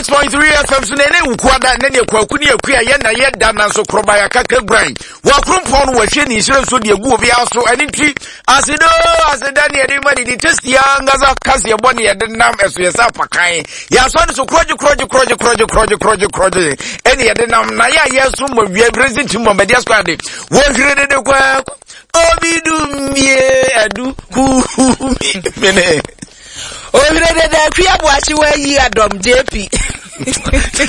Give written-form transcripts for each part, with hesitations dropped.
106.3 FM so na ɛne wukuada ne ne kwaku ne akua yɛ na yɛ da nanso koroba yɛ akaka guran wɔakrompɔn no wɔahwie ne nhyira nso de agu obiara so ɛne nti asedo aseda ne yɛde ma ne di testi ankasa kaseɛ bɔ ne yɛde nam ɛso yɛ sɛ apakan yɛasɔ ne so korɔgye korɔgye korɔgye korɔgye korɔgye korɔgye korɔgye ɛne yɛde nam na yɛ a yɛso mmɔ wia brɛsi nti mmɔ mɛdeɛ so ade wɔhwere dede kwaku obi dummie adu kuumi mene Ohwere dede akwi aboakye wayi adɔm JP.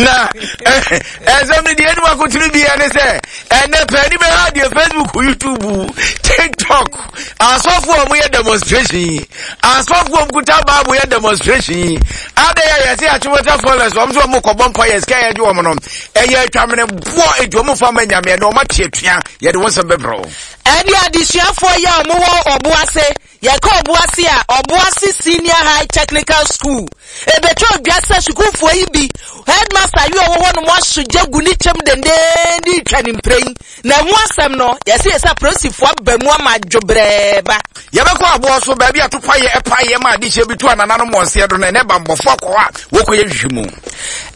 Na ɛsɛm no deɛ anim akotene biara ne sɛ ɛnɛ pɛni bɛha deɛ Facebook, YouTube, TikTok asɔfoɔ a wɔyɛ demonstration yi, asɔfoɔ a wɔkuta Bible yɛ demonstration yi, adɛn a yɛse Achimota Forest wɔn nso wɔn kɔbɔ mpa yɛ sika yɛgye wɔn no ɛyɛ atwamene boɔ enti wɔn fa ma nyame ɛnɛ wɔn ate atua yɛde wɔn nsɛm bɛbrɛ wo. Ɛne adesuafoɔ yi a wɔwɔ ɔbo ase. Yɛka Ɔboase a, Ɔboase Senior High Technical School. Ebetɔ dwa sɛ sukuufoɔ yi bi, headmaster yi a ɔwɔ hɔ nom aso gya gu ne kyɛm dendeenden retwa ne mprɛn. Na ɛho asɛm no, yɛse yɛsɛ apolisifoɔ aba mu ama adwobrɛɛ ba. Yɛbɛkɔ aboɔ so, baabi a topaeɛ paeɛ ma adehyeɛ bi to anananom wɔn seɛ do no, ɛnnɛ bammɔfoɔ akɔ hɔ a wɔkɔyɛ nhwehwɛmu.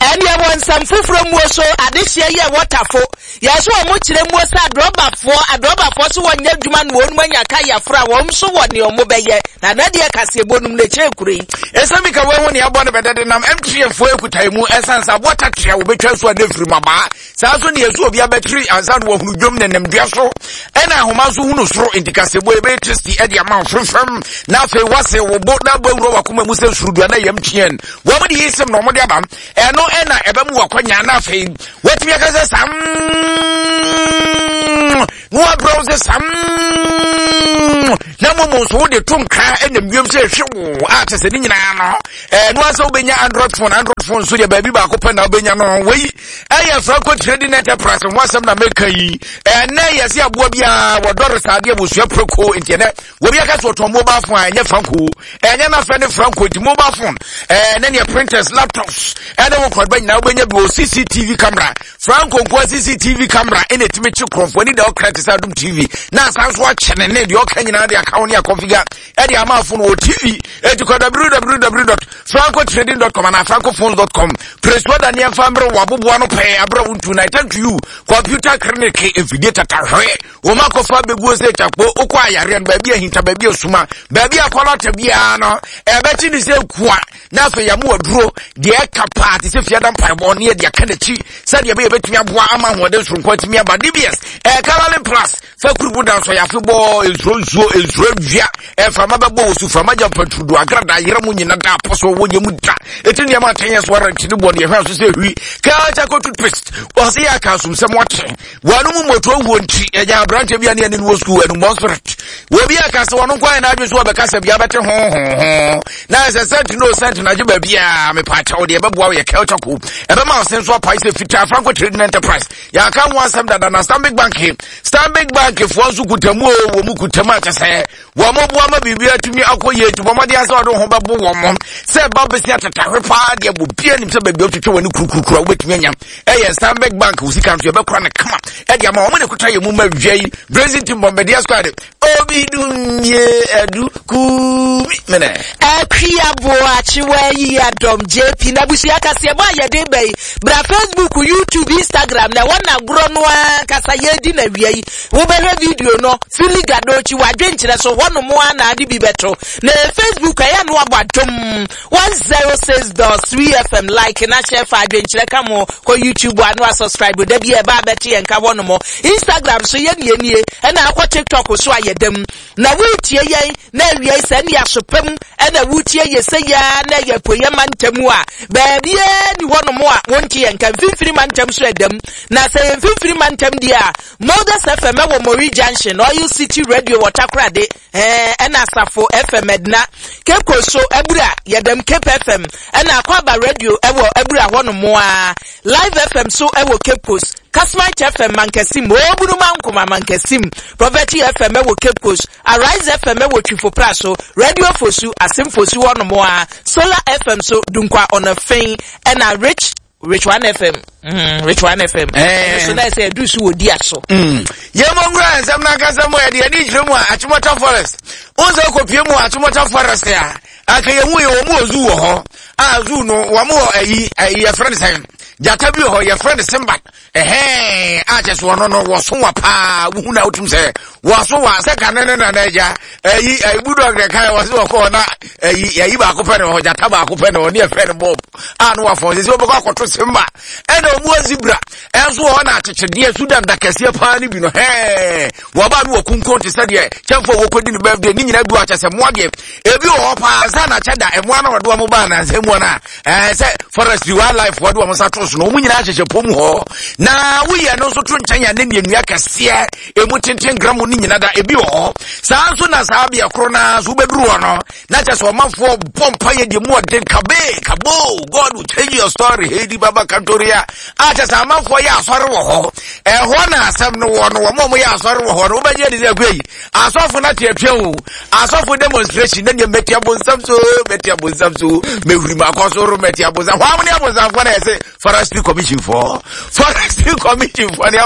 Ɛnneɛ wɔ nsɛm foforɔ muo so, adehyeɛ yi a ɛwɔ Tafo, Yɛ so wɔn kyerɛ muo sɛ adrɔbafoɔ, adrɔbafoɔ so wɔnyɛ adwuma na wɔn anya kayaforo a wɔn nso wɔ nea wɔn bɛyɛ. Na na deɛ kaseɛbɔ nom na ɛkyerɛ kuro yi. Ɛsɛ mi ka wɔn ho nea ɛbɔ no bɛdɛ de nam MTN foɔ ekuta emu ɛsan sɛ aboɔ tatea wɔbɛtwa nso a ne firi mu abaa saa nso ne yɛso obi abɛtiri ansa na wɔhunu dwom ne nam dua so ɛna ahoma nso hunu soro nti kaseɛbɔ ɛbɛyɛ tasty ɛde ama mfremfrem na afei wase wo bo na abɔ awura wakoma mu sɛ surudua na yɛ MTN wɔn de yi sɛm na wɔn de aba ɛno ɛna ɛbɛmu wakwanya na afei watumi aka sɛ sam na wabrɛ wo sɛ sam na mmom nso wode to nkra ɛnam wiem sɛ ɛhwe wo a kyɛ sɛ ne nyinaa no ɛno asɛ wobɛnya android phone. Android phone nso deɛ baabi baako pɛ na wobɛnya no. Wei ɛyɛ Franco Trading Enterprise ho asɛm na meka yi. Ɛnɛ yɛse aboa biara wɔdɔre saa adeɛ wɔsua prɛko nti ɛnɛ wɔbi aka sɛ ɔtɔn mobile phone a ɛnyɛ Franco, ɛnyɛ n'afɛ ne Franco. Nti mobile phone ɛɛ ne neɛ printers, laptops ɛne wo nkɔdba nyinaa wobɛnya bi wɔ. CCTV camera, Franco nkoa CCTV camera ɛna ɛtumi kye korɔmfoɔ ani da ɔkra te sɛ Adom TV na asan so akyɛ ne ne deɛ ɔka nyinaa de aka wo ne akɔnfiga ɛde ama afo no wɔ TV. Ɛti kɔ www.francotrading.com anaa francophones.com. Presua da nneɛmfa mmerɛ wɔ aboboa no pɛɛ aberɛ wo ntu na attend to you computer clinic mfidie tatahwɛ wɔn akɔfa abɛguo sɛ kyakpo wokɔ ayareɛ no baabi ahinta baabi asuma baabi akɔlɔta biara no ɛbɛkye ne sɛ kua na afei yɛmo aduro deɛ ɛka paa te sɛ fiada mpaebɔ ne yɛde aka n'akyi sɛdeɛ ɛbɛyɛ bɛtumi aboa ama ahoɔden soronko atumi aba. DBS ɛkalale plus fa kurubu da nso yɛafe bɔ nsuro nsuo nsuro awia ɛmframa bɛbɔ wɔ su frama gya mpaturudu agrada yerɛ mu nyina da apɔ so wɔ nyɛ mu da ɛti nneɛma atɛnyɛ so ara nti ne bɔ ne yɛhwɛ so sɛ hwi kaa charcoal toothpaste ɔse yɛ aka asomsɛm ɔte wɔn mu moto wuo nti ɛnya aberanteɛ bi a ne ɛne no wɔ sukuu ɛnumɔ spirit wɔbi aka sɛ wɔn nko ayɛ n'adwene so wɔbɛka sɛ bia bɛte ho ho ho na ɛsɛ sɛnti no sɛnti no agye baabi a mepaakyɛw deɛ ɛbɛboa wo yɛ kelta ko ɛbɛma wo sen so apae sɛ fitaa. Franco Trading Enterprise yɛaka ho asɛm dada na Stanbic Bank, Stanbic Bank foɔ nso kutamu o wɔ mu kutamu akyɛ sɛ wɔn mo boa ma biribi atumi akɔ yie nti wɔn adeɛ sɛ ɔde ho bɛbo wɔn mo sɛ ɛba bɛsi atatahwe paa deɛ bɔ bia nim sɛ baabi a wotwitwa wɔn ani kurkurukuru a wobɛtumi anya ɛyɛ Stanbic Bank. Wo sika nso yɛbɛkora no kama ɛde ama wɔn ne kuta yɛ mu ma wia yi Brazil team Bombardier squad obi dumie adu kumi mene. Akua Boakyewa yi adɔm JP na abusua kaseɛbɔ a yɛde ba yi bra Facebook, YouTube, Instagram na ɛwɔ n'agorɔ no ankasa yɛredi na wia yi wobɛhwɛ video no fili gadokyi wadwenkyerɛ so hɔnom a na ade bi bɛto na Facebook ɛyɛ no abɔ Adom 106.3 FM like na share fa adwenkyerɛ ka mo. Kɔ YouTube ano a subscribe da bi a ɛba abɛto yɛn ka hɔnom. Instagram so yɛ nie nie ɛna akɔ TikTok so a yɛdam na wotie yɛn na awia yi sɛ ne asopam ɛna wotie yɛ sɛ yɛa na ɛyɛ apueyɛ mantam a baabiaa ni hɔnom a wonte yɛn ka. Mfimfini mantam so ɛdam na sɛ yɛ mfimfini mantam deɛ a Modus FM ɛwɔ Mori Junction, Oil City Radio wɔ Takoradi, ɛna Asafo FM Edna, Cape Coast so Abura yɛdam Cape FM, ɛna Akwaba Radio ɛwɔ Abura hɔnom a Live FM so ɛwɔ Cape Coast, Kasmite FM Mankasim, Obunuma Nkoma Mankasim, Prophet FM ɛwɔ Cape Coast, Arise FM ɛwɔ Twifo Praso, Radio Fosu, Asim Fosu hɔnom a Solar FM so Dunkwa Ɔnafɛn, ɛna Rich One FM, Rich One FM. Ɛno so na ɛsɛ ɛdu so wɔ di aso. Yɛmmɔ nwura nsɛm no ankasa mu a yɛde ani kyerɛ mu a Achimota Forest wo sɛ wokɔpie mu Achimota Forest a anka yɛhu yɛ wɔ mu wɔ zoo wɔ hɔ. A zoo no wɔn wɔ ayi ayi yɛfrɛ no sɛn gyata bi wɔ hɔ yɛfrɛ no Simba ɛhɛn a kyɛ so ɔno no wɔso wa paa wohu na wotum sɛ wɔso wa sɛ kane ne nana agya ayi ayi budɔg na kan wɔse wɔkɔ na ayi ayi baako pɛ na wɔ hɔ gyata baako pɛ na ɔne yɛfrɛ no Bob a no wafɔn sɛ sɛ wɔbɛkɔ akɔto Simba ɛna ɔmu wɔ zebra ɛnso wɔ hɔ na akyekyedeɛ Sudan da kɛseɛ paa no bi no hɛn wɔba no wɔ kunkun te sɛ deɛ kyɛmfoɔ wɔkɔdi no birthday ne nyinaa bi wɔ akyɛ sɛ mmoa deɛ ebi wɔ hɔ paa sɛ na kyɛ da mmoa no wɔde wɔn baa nansa mu no a ɛɛ sɛ forestry wildlife wɔde wɔn nsa to so no wɔn nyinaa hyehyɛ pɔm hɔ na woyɛ no nso to nkyɛn a ne nnua kɛseɛ emu tenten gram ne nyina da ebi wɔ hɔ saa nso na saa beɛ koro naa so wobɛduru hɔ no na kyɛ sɛ ɔmanfoɔ bɔ mpa yɛ deɛ mu ɔden kabe kabo God will change your story heidi baba kantoria a kyɛ sɛ amanfoɔ yɛ asɔre wɔ hɔ ɛhɔ na asɛm no wɔ no wɔn a wɔyɛ asɔre wɔ hɔ no wobɛgye adi sɛ akua yi asɔfo no ate atua o asɔfo demonstration na nea mɛti abonsam so mɛti abonsam so mɛhuri mu akɔ soro mɛti abonsam hɔ ne abonsamfoɔ na yɛsɛ forestry commission foɔ forestry commission foɔ ne.